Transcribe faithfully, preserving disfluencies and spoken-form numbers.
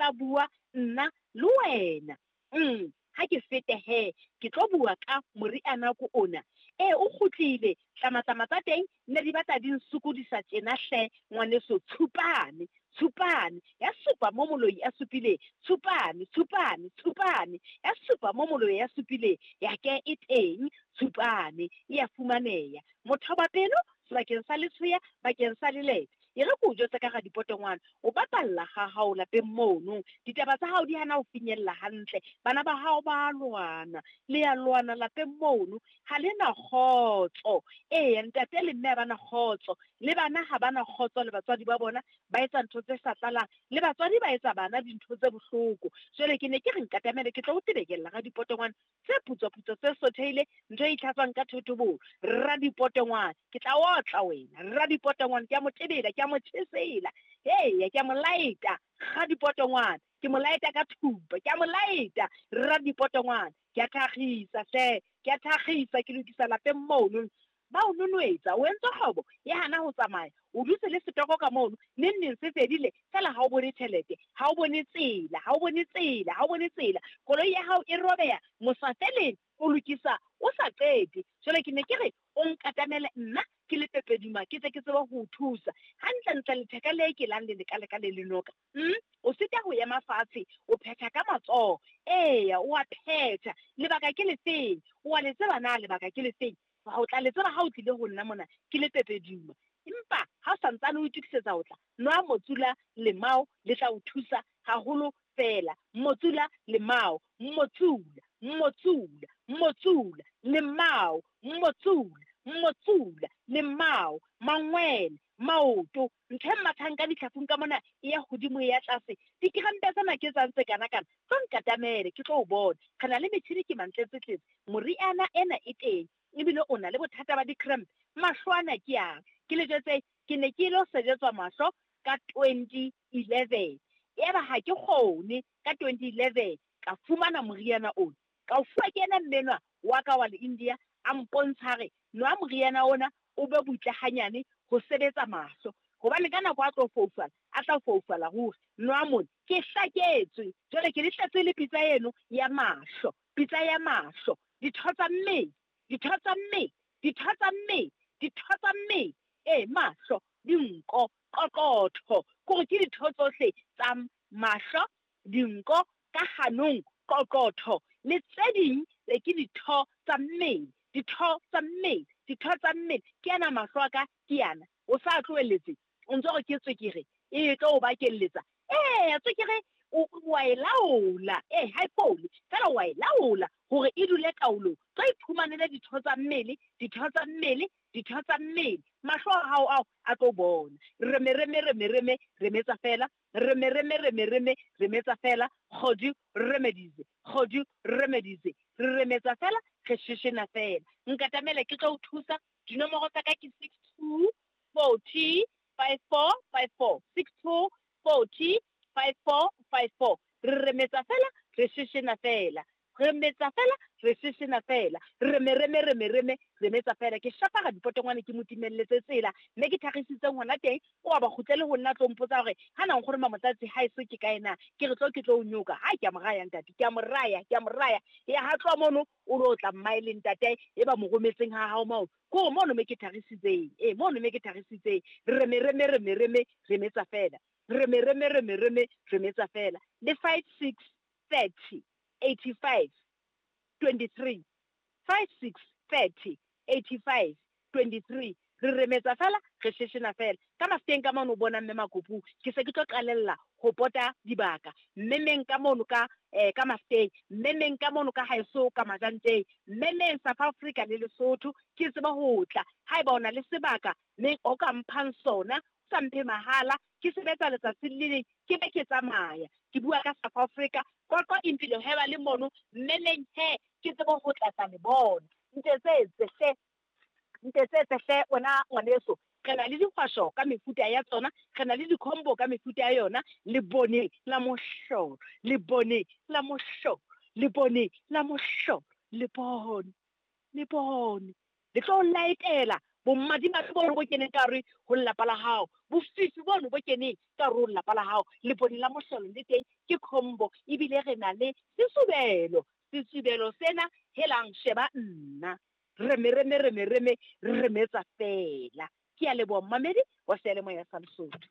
tla bua nna le wena. Mm, ha ke fete he, ke tlo bua ka moriana ko ona. E o kgutlile, tlamatlama tsa teng ne di batla di nsokodisa tjena hle ngwaneso, tshupane, tshupane, ya supa mo moloi a supileng, tshupane, tshupane, tshupane, ya supa mo moloi a supileng, ya ke e teng, tshupane, e ya fumaneha. Mothobapelo, sebakeng sa letshweya, bakeng sa lelete. E re ke o jwetse ka radipotongwane, o bapalla ha hao lapeng mono. Ditaba tsa hao di hana ho finyella hantle. Bana ba hao ba lwana, le ya lwana lapeng mono. Ha le na kgotso. Eya, ntate le mme ha ba na kgotso. Le bana ha ba na kgotso le batswadi ba bona, ba etsa ntho tse sa tlalang. Le batswadi ba etsa bana dintho tse bohloko. Jwale ke ne ke re nkatamele ke tlo o tebekella radipotongwane tse putswa-putswa tse sothehile, ntho e itlhatswang ka thotobolo. Radipotongwane, ke tla otla wena. Radipotongwane, ke a mo tebela, ke a mo tjhesela. Eya, ke a mo laeta. Radipotongwane, ke mo laeta ka thupa, ke a mo laeta. Radipotongwane, ke a thakgisa hle, ke a thakgisa, ke lokisa lapeng mono. Ba o nonwetsa, o entse kgwebo ya hana ho tsamaya. O dutse le setoko ka mono, neng neng se fedile, feela ha o bone tjhelete, ha o bone tsela, ha o bone tsela, ha o bone tsela. Koloi ya hao e robeha, mosafeleng o lokisa o sa qete. Jwale ke ne ke re o nkatamele nna ke le Pepeduma, ke tle ke tsebe ho o thusa. Hantlentle letheka le ke lang le lekaleka le le noka. Mm? O sita ho ema fatshe, o phetha ka matsoho. Eya, o a phetha. Lebaka ke lefeng? O a le tseba na lebaka ke lefeng? Ha o tla le tseba ha o tlile ho nna mona ke le Pepeduma. Empa ha o santsane o itokisetsa ho tla, nwa motsula lemao le tla o thusa haholo fela. Motsula lemao, motsula, motsula, motsula, lemao, motsula, motsula, lemao, mangwele, maoto, ntho e mathang ka ditlhafung ka mona e ya hodimo e ya tlase. Dikrempe tsena ke tsa ntse kana kana, tlo nkatamele ke tlo o bona. Re na le metjhini ke mantletsetletse, moriana ena e teng, ebile o na le bothata ba dikrempe. Mahlo ana ke a, ke le jwetse, ke ne ke ilo sebetswa mahlo ka twenty eleven. Yaba ha ke kgone ka twenty eleven ka fumana moriana ona. Ka o fuwa ke yena mmenwa wa ka wa le India, a mpontsha re nwa moriana ona o be butle hanyane ho sebetsa mahlo. Hobane ka nako a tlo foufala, a tla foufala ruri. Nwa mona, ke hlaketswe. Jwale ke le tletse le pitsa eno ya mahlo, pitsa ya mahlo, ditho tsa mmele, ditho tsa mmele, ditho tsa mmele, ditho tsa mmele. E mahlo, dinko, qoqotho, kore ke ditho tsohle tsa mahlo, dinko, ka hanong, qoqotho, le tse ding e ke ditho tsa mmele, ditho tsa mmele, ditho tsa mmele. Ke ana mahlo a ka, ke ana. O sa tlohelletse, o ntso re ke tswekere, e tlo o bakelletsa. Eya, tswekere o, o a e laola. Eh, ha e fole, feela o a e laola hore e dule taolong. Tlo iphumanele ditho tsa mmele, ditho tsa mmele, ditho tsa mmele. Mahlo a hao ao a tlo bona. Reme, reme, reme, reme, remetsa fela. Reme, reme, reme, reme, remetsa fela. Kgodu, remedize. Kgodu, remedize. Re remetsa fela, re sheshena fela. Nkatamele ke tlo o thusa. Dinomoro tsa ka ke six two forty five four five four. Six two forty five four five four. Re remetsa fela, re sheshena fela. Remetsa fela, re sheshena fela. Reme, reme, reme, reme, remetsa fela. Ke shapa radipotongwane ke mo timelletse tsela, mme ke thagisitseng hona teng, o a ba kgutlele ho nna tlo mpotsa hore ha na nkgono Mamotlatsi ha eso ke kae na? Ke re tlo ke tlo o nyoka. Ha ke a mo raya ntate, ke a mo raya, ke a mo raya. Ya ha tloha mono, o lo tla mmae le ntate e ba mo rometseng ha hao moo. Ko mono me ke thagisitseng. Eh, mono me ke thagisitseng. Reme, reme, reme, reme, remetsa fela. Reme, reme, reme, reme, remetsa fela. Le five six thirty eighty five twenty three. Five six thirty eighty five twenty three. Re remetsa fela, re sheshena fela. Ka mafuteng ka mono o bona mme Makopu, ke se ke tlo qalella ho pota dibaka. Mme meng ka mono ka, eh, ka mafuteng, mme meng ka mono ka haeso ka Majanteng, mme meng South Africa le Lesotho, ke tseba ho tla. Haeba o na le sebaka mme o ka mphang sona, o sa mphe mahala, ke sebetsa letsatsi le leng, ke be ke tsamaya. Ke bua ka South Africa, Qwaqwa Impilo he ba le mono, mme meng he, ke tsebe ho tla tla le bona. Ntetsetse hle, ntetsetse hle wena ngwaneso. Re na le dihwasho ka mefuta ya tsona, re na le di-combo ka mefuta ya yona. Lebone la mohlolo, lebone la mohlolo, lebone la mohlolo, lebone, lebone. Le tlo laetela Bomadimabe bono bo keneng ka hare ho lelapa la hao, bofifi bono bo keneng ka hare ho lelapa la hao. Lebone la mohlolo le teng ke combo, ebile re na le sesubelo. Sesubelo sena, helang sheba nna. Reme reme reme reme remetsa feela. Ke a leboha momamedi wa seyalemoya sa Lesotho.